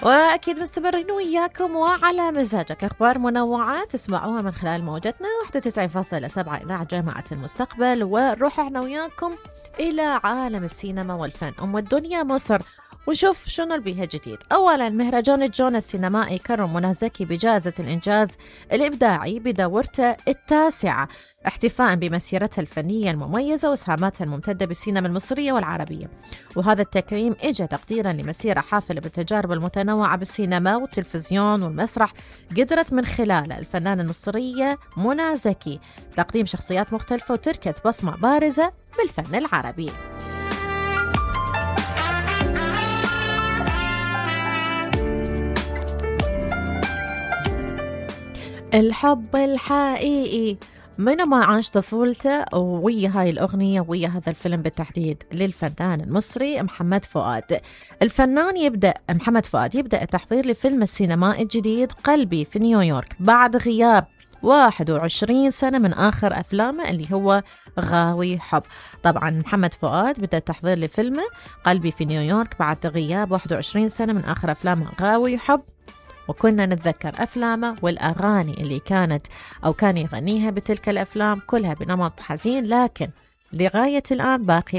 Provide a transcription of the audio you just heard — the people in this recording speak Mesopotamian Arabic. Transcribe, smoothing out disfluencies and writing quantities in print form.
وأكيد مستمرين وياكم وعلى مزاجك، أخبار منوعة تسمعوها من خلال موجتنا 91.7 إذاعة جامعة المستقبل. ونروح احنا وياكم إلى عالم السينما والفن الدنيا مصر، ونشوف شنو اللي بيها جديد. أولا، مهرجان الجونة السينمائي كرم منى زكي بجائزة الإنجاز الإبداعي بدورته التاسعة، احتفاء بمسيرتها الفنية المميزة وإسهاماتها الممتدة بالسينما المصرية والعربية. وهذا التكريم إجا تقديرا لمسيرة حافلة بالتجارب المتنوعة بالسينما والتلفزيون والمسرح، قدرت من خلالها الفنانة المصرية منى زكي تقديم شخصيات مختلفة وتركت بصمة بارزة بالفن العربي. الحب الحقيقي، منو ما عاش طفولته ويا هاي الأغنية ويا هذا الفيلم بالتحديد للفنان المصري محمد فؤاد. محمد فؤاد يبدأ التحضير لفيلم السينمائي الجديد قلبي في نيويورك بعد غياب 21 سنة من آخر أفلامه اللي هو غاوي حب. طبعا محمد فؤاد بدأ التحضير لفيلمه قلبي في نيويورك بعد غياب 21 سنة من آخر أفلامه غاوي حب، وكنا نتذكر أفلامه والأغاني اللي كان يغنيها بتلك الأفلام كلها بنمط حزين، لكن لغاية الآن باقي